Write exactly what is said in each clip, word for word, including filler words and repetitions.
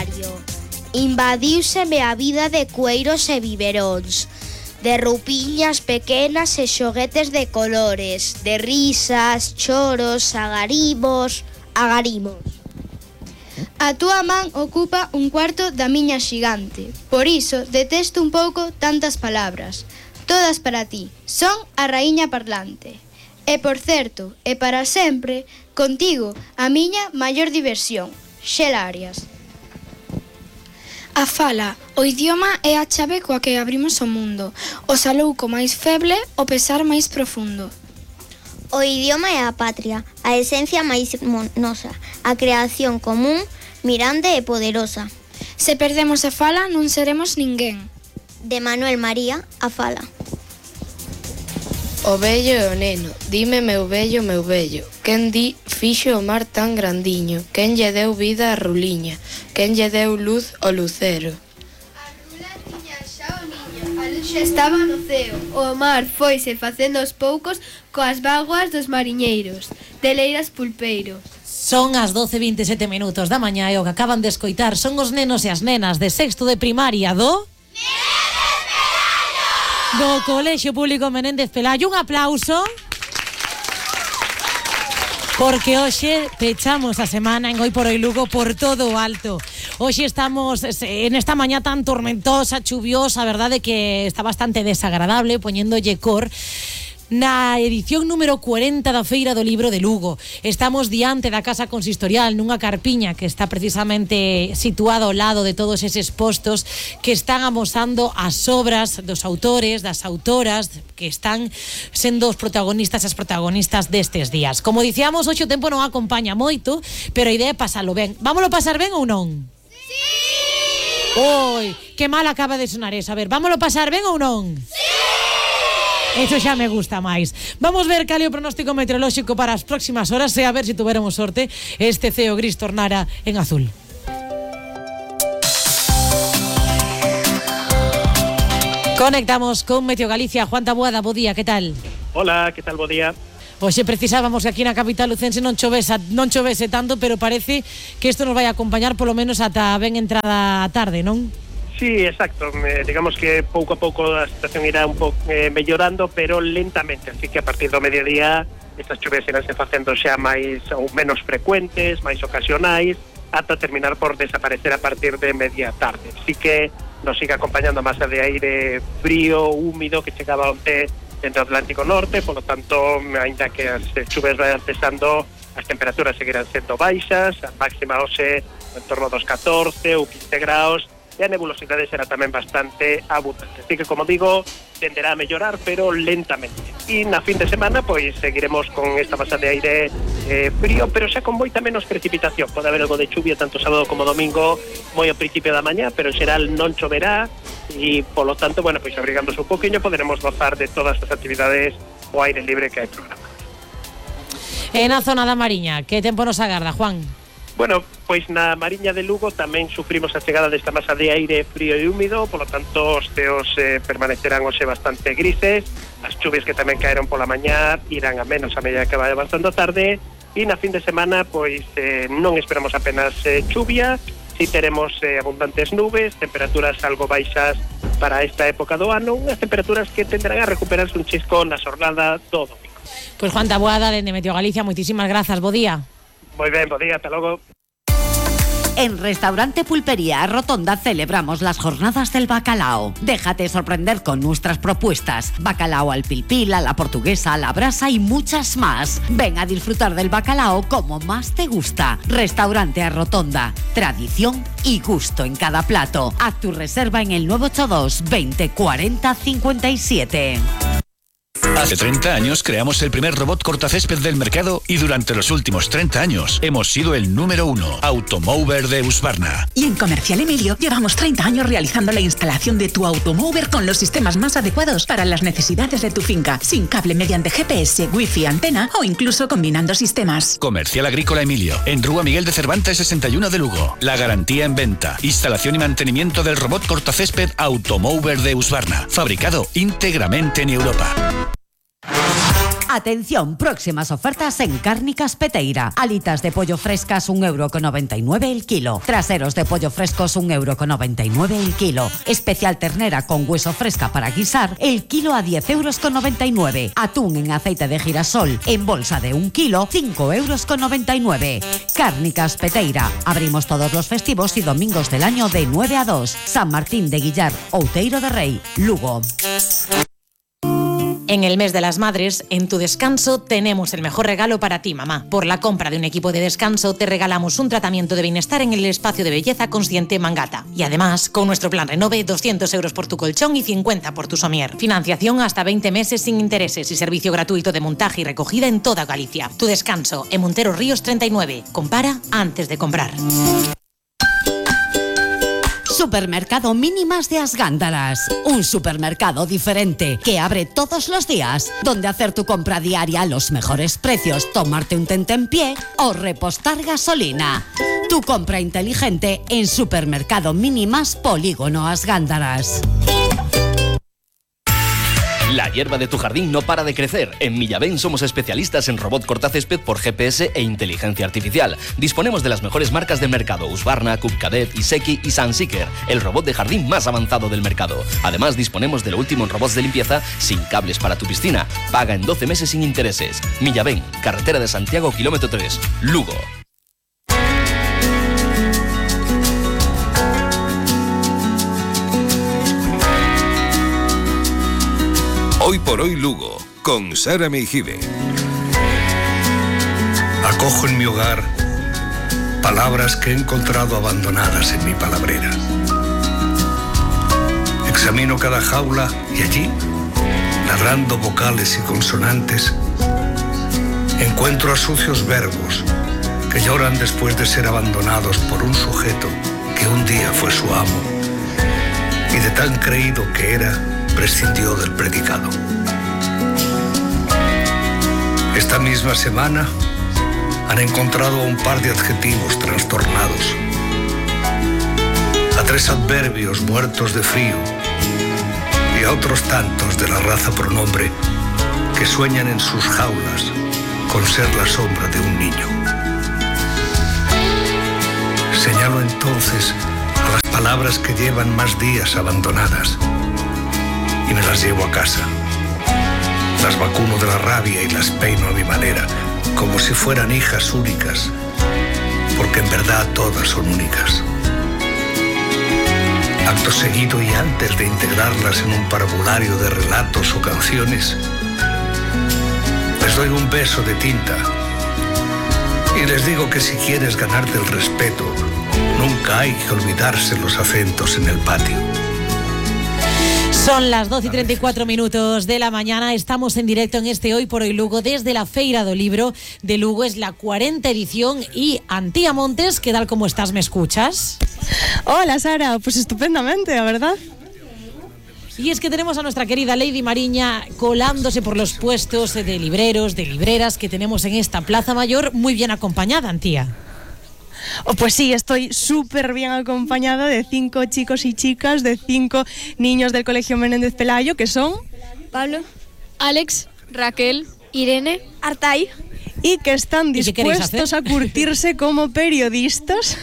diario. Invadiuseme a vida de cueiros e biberóns, de roupiñas pequenas e xoguetes de colores, de risas, choros, agarimos, agarimos. A túa man ocupa un cuarto da miña xigante, por iso detesto un pouco tantas palabras. Todas para ti, son a raíña parlante. E por certo, e para sempre, contigo, a miña maior diversión, Xela Arias. A fala, o idioma é a chave coa que abrimos o mundo, o salouco máis feble, o pesar máis profundo. O idioma é a patria, a esencia máis nosa, a creación común, mirande e poderosa. Se perdemos a fala, non seremos ninguén. De Manuel María, a fala. O vello e o neno, dime meu vello, meu vello, quen di fixo o mar tan grandiño, quen lle deu vida a Ruliña, quen lle deu luz ao lucero. A rula tiña xa o niño, a luz xa estaba no ceo, o mar foise facendo aos poucos coas vaguas dos mariñeiros, de Leiras Pulpeiro. Son as doce e vinte e sete minutos da mañá e o que acaban de escoitar son os nenos e as nenas de sexto de primaria do... do Colexio Público Menéndez Pelayo. Un aplauso. Porque hoxe pechamos a semana en Hoy por Hoy Lugo por todo o alto. Hoxe estamos en esta mañá tan tormentosa, chuviosa, a verdade que está bastante desagradable, poñéndolle cor. Na edición número cuarenta da Feira do Libro de Lugo. Estamos diante da Casa Consistorial nunha carpiña que está precisamente situada ao lado de todos eses postos que están amosando as obras dos autores, das autoras que están sendo os protagonistas e as protagonistas destes días. Como dicíamos, hoxe o tempo non acompaña moito, pero a idea é pasalo ben. Vámolo pasar ben ou non? Sí! Oi, que mal acaba de sonar eso. A ver, vámolo pasar ben ou non? Sí! Eso xa me gusta máis. Vamos ver cal é o pronóstico meteorolóxico para as próximas horas e a ver se tuveremos sorte este ceo gris tornara en azul. Conectamos con Meteo Galicia. Juan Taboada, bo día, que tal? Hola, que tal, bo día? Hoxe precisábamos que aquí na capital lucense non chovese, non chovese tanto, pero parece que isto nos vai a acompañar polo menos ata ben entrada a tarde, non? Sí, exacto. Eh, digamos que pouco a pouco a situación irá un pouco eh, mellorando, pero lentamente. Así que a partir do mediodía estas chuvias iránse facendo xa máis ou menos frecuentes, máis ocasionais, ata terminar por desaparecer a partir de media tarde. Así que nos sigue acompañando a masa de aire frío, húmido, que chegaba onte dentro do Atlántico Norte. Por lo tanto, aínda que as chuvias vayan cesando, as temperaturas seguirán sendo baixas, a máxima hoxe en torno dos catorce ou quince graus, e a nebulosidade será tamén bastante abundante. Así que, como digo, tenderá a mellorar, pero lentamente. E na fin de semana, pois, seguiremos con esta masa de aire eh, frío, pero xa con moita menos precipitación. Pode haber algo de chuvia tanto sábado como domingo, moi ao principio da mañá, pero en xeral non choverá, e, polo tanto, bueno, pois, abrigándose un poquinho, poderemos gozar de todas as actividades ao aire libre que hai programa. En a zona da Mariña, que tempo nos agarda, Juan? Bueno, pois na Mariña de Lugo tamén sufrimos a chegada desta masa de aire frío e húmido, polo tanto os ceos eh, permanecerán hoxe bastante grises, as chuvias que tamén caeron pola mañá irán a menos a medida que vai avanzando a tarde, e na fin de semana pois eh, non esperamos apenas eh, chuvia, si teremos eh, abundantes nubes, temperaturas algo baixas para esta época do ano, unhas temperaturas que tenderán a recuperarse un chisco na xornada do domingo. Pois Juan Taboada, dende Meteo Galicia, moitísimas grazas, bo día. Moi ben, bo día, ata logo. En Restaurante Pulpería Rotonda celebramos las jornadas del bacalao. Déjate sorprender con nuestras propuestas. Bacalao al pil pil, a la portuguesa, a la brasa y muchas más. Ven a disfrutar del bacalao como más te gusta. Restaurante a Rotonda. Tradición y gusto en cada plato. Haz tu reserva en el nueve ocho dos, veinte, cuarenta, cincuenta y siete. Hace treinta años creamos el primer robot cortacésped del mercado y durante los últimos treinta años hemos sido el número uno, Automover de Husqvarna. Y en Comercial Emilio llevamos treinta años realizando la instalación de tu Automover con los sistemas más adecuados para las necesidades de tu finca, sin cable mediante G P S, Wi-Fi, antena o incluso combinando sistemas. Comercial Agrícola Emilio, en Rúa Miguel de Cervantes sesenta y uno de Lugo. La garantía en venta, instalación y mantenimiento del robot cortacésped Automover de Husqvarna, fabricado íntegramente en Europa. Atención, próximas ofertas en Cárnicas Peteira. Alitas de pollo frescas un euro con noventa y nueve el kilo. Traseros de pollo frescos un euro con noventa y nueve el kilo. Especial ternera con hueso fresca para guisar, el kilo a diez euros con noventa y nueve. Atún en aceite de girasol en bolsa de un kilo, cinco euros con noventa y nueve. Cárnicas Peteira. Abrimos todos los festivos y domingos del año de nueve a dos. San Martín de Guillar, Outeiro de Rei, Lugo. En el mes de las madres, en Tu Descanso, tenemos el mejor regalo para ti, mamá. Por la compra de un equipo de descanso, te regalamos un tratamiento de bienestar en el espacio de belleza consciente Mangata. Y además, con nuestro plan Renove, doscientos euros por tu colchón y cincuenta por tu somier. Financiación hasta veinte meses sin intereses y servicio gratuito de montaje y recogida en toda Galicia. Tu Descanso, en Montero Ríos treinta y nueve. Compara antes de comprar. Supermercado Mínimas de As Gándaras. Un supermercado diferente que abre todos los días, donde hacer tu compra diaria a los mejores precios, tomarte un tentempié o repostar gasolina. Tu compra inteligente en Supermercado Mínimas Polígono As Gándaras. La hierba de tu jardín no para de crecer. En Millaben somos especialistas en robot cortacésped por G P S e inteligencia artificial. Disponemos de las mejores marcas del mercado: Husqvarna, Cupcadet, Iseki y Sunseeker, el robot de jardín más avanzado del mercado. Además, disponemos de lo último en robots de limpieza sin cables para tu piscina. Paga en doce meses sin intereses. Millaben, carretera de Santiago, kilómetro tres, Lugo. Hoy por hoy Lugo, con Sara Meijibe. Acojo en mi hogar palabras que he encontrado abandonadas en mi palabrera. Examino cada jaula y allí, ladrando vocales y consonantes, encuentro a sucios verbos que lloran después de ser abandonados por un sujeto que un día fue su amo y de tan creído que era, prescindió del predicado. Esta misma semana han encontrado a un par de adjetivos trastornados, a tres adverbios muertos de frío y a otros tantos de la raza pronombre que sueñan en sus jaulas con ser la sombra de un niño. Señalo entonces a las palabras que llevan más días abandonadas y me las llevo a casa. Las vacuno de la rabia y las peino a mi manera, como si fueran hijas únicas, porque en verdad todas son únicas. Acto seguido y antes de integrarlas en un parvulario de relatos o canciones, les doy un beso de tinta y les digo que si quieres ganarte el respeto, nunca hay que olvidarse los acentos en el patio. Son las doce y treinta y cuatro minutos de la mañana. Estamos en directo en este Hoy por Hoy Lugo desde la Feira do Libro de Lugo. Es la cuarenta edición y Antía Montes, ¿qué tal? ¿Cómo estás? ¿Me escuchas? Hola Sara, pues estupendamente, la verdad. Y es que tenemos a nuestra querida Lady Mariña colándose por los puestos de libreros, de libreras que tenemos en esta Plaza Mayor, muy bien acompañada, Antía. Oh, pues sí, estoy súper bien acompañada de cinco chicos y chicas, de cinco niños del Colegio Menéndez Pelayo, que son Pablo, Alex, Raquel, Irene, Artay. Y que están dispuestos a curtirse como periodistas,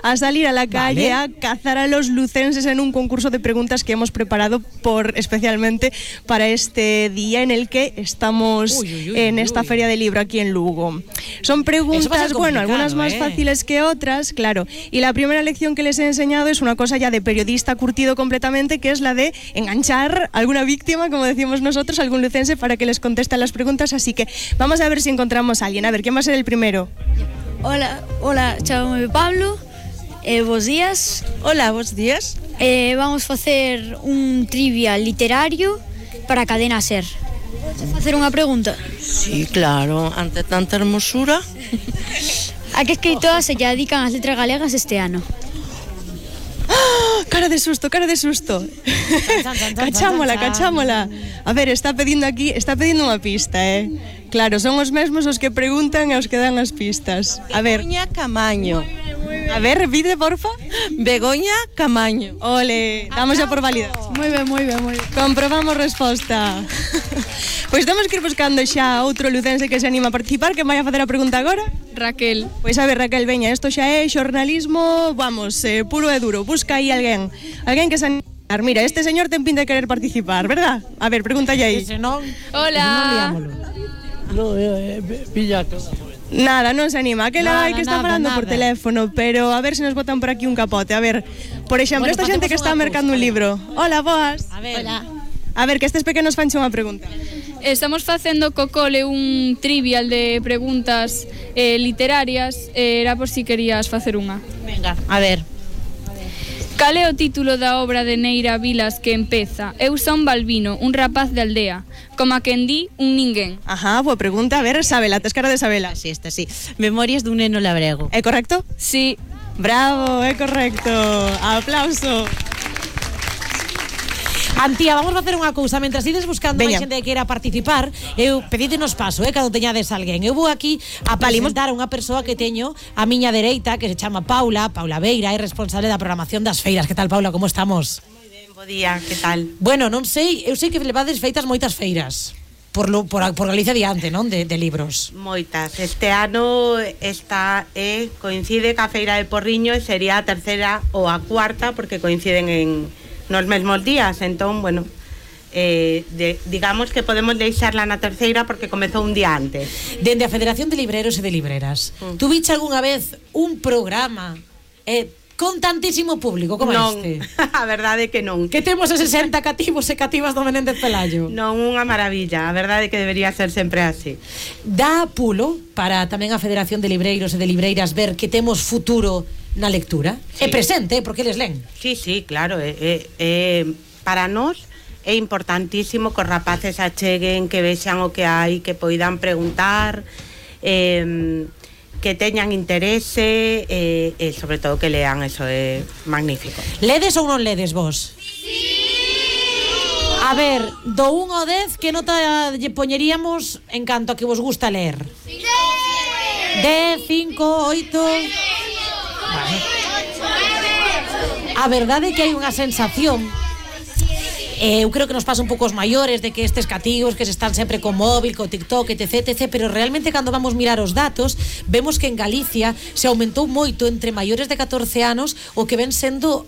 a salir a la calle, vale, a cazar a los lucenses en un concurso de preguntas que hemos preparado por especialmente para este día en el que estamos uy, uy, uy, en esta uy. Feria del libro aquí en Lugo. Son preguntas, bueno, algunas más eh. fáciles que otras, claro. Y la primera lección que les he enseñado es una cosa ya de periodista curtido completamente, que es la de enganchar a alguna víctima, como decimos nosotros, algún lucense para que les conteste las preguntas. Así que vamos a ver si encontramos a alguien. A ver, ¿quién va a ser el primero? Hola, hola, chámame Pablo. Eh, bos días. Hola, bos días. Eh, vamos a facer un trivia literario para Cadena Ser. Podes facer unha pregunta? Sí, claro, ante tanta hermosura. A que escritoras se lle dedican as letras galegas este ano? ¡Ah! Cara de susto, cara de susto. Cachámola, cachámola. A ver, está pedindo aquí, está pedindo unha pista, eh. Claro, son os mesmos os que preguntan e os que dan as pistas. A ver. Ipoña Camaño. A ver, repite, porfa. Begoña Camaño. Ole, damos ya por válida. Moi ben, moi ben, moi ben. Comprobamos resposta. Pois temos que ir buscando xa outro lucense que se anima a participar. Que vai a facer a pregunta agora? Raquel. Pois a ver, Raquel, veña, isto xa é xornalismo, vamos, eh, puro e duro. Busca aí alguén, alguén que se anima. Mira, este señor ten pinta de querer participar, verdad? A ver, pregúntalle aí. Ese non, Hola. No, eh, pilla que... Nada, non se anima. Aquel Nada, hai que está nada, falando nada. por teléfono, pero a ver se nos botan por aquí un capote. A ver, por exemplo, Bueno, esta xente que facemos está unha mercando cousa, un a ver. libro. Hola, boas. A ver. Hola. A ver, que estes pequenos fanche unha pregunta. Estamos facendo co cole un trivial de preguntas eh, literarias. eh, Era por si querías facer unha. Venga, a ver. Cal é o título da obra de Neira Vilas que empeza? Eu son Balbino, un rapaz de aldea. Como a quen di, un ninguén. Ajá, boa pregunta. A ver, Sabela, tes cara de Sabela. Sí, esta sí. Memorias dun neno labrego. É correcto? Sí. Bravo, é correcto. Aplauso. Antía, vamos a facer unha cousa. Mentras ides buscando Veña. máis xente que queira participar, eu pedídenos paso, eh, cando teñades alguén. Eu vou aquí a presentar a unha persoa que teño a miña dereita, que se chama Paula, Paula Beira, é responsable da programación das feiras. Que tal, Paula, como estamos? Moi ben, bo día, que tal? Bueno, non sei, eu sei que levades feitas moitas feiras. Por, lo, por, por Galicia diante, non? De, de libros. Moitas. Este ano esta eh, coincide ca Feira de Porriño e sería a terceira ou a cuarta porque coinciden en nos mesmos días, entón, bueno, eh, de, digamos que podemos deixarla na terceira porque comezou un día antes. Dende a Federación de Libreros e de Libreras, mm. tu viche algunha vez un programa eh, con tantísimo público como non, este? a verdade é que non. Que temos a sesenta cativos e cativas do Menéndez Pelayo. Non, unha maravilla, a verdade é que debería ser sempre así. Dá pulo para tamén a Federación de Libreiros e de Libreiras ver que temos futuro na lectura? Sí. É presente, porque eles len. Sí, sí, claro, é, é, é, para nós é importantísimo que os rapaces acheguen, que vexan o que hai, que poidan preguntar, eh, que teñan interese e, e sobre todo que lean, eso é magnífico. Ledes ou non ledes vos? Sí. A ver, do un ao dez, que nota lle poñeríamos en canto a que vos gusta ler? Sí. dez, cinco, oito... Vale. A verdade é que hai unha sensación, eh, eu creo que nos pasa un pouco os maiores, de que estes cativos que se están sempre con móvil, con TikTok, etc, etc, pero realmente cando vamos mirar os datos vemos que en Galicia se aumentou moito entre maiores de catorce anos o que ven sendo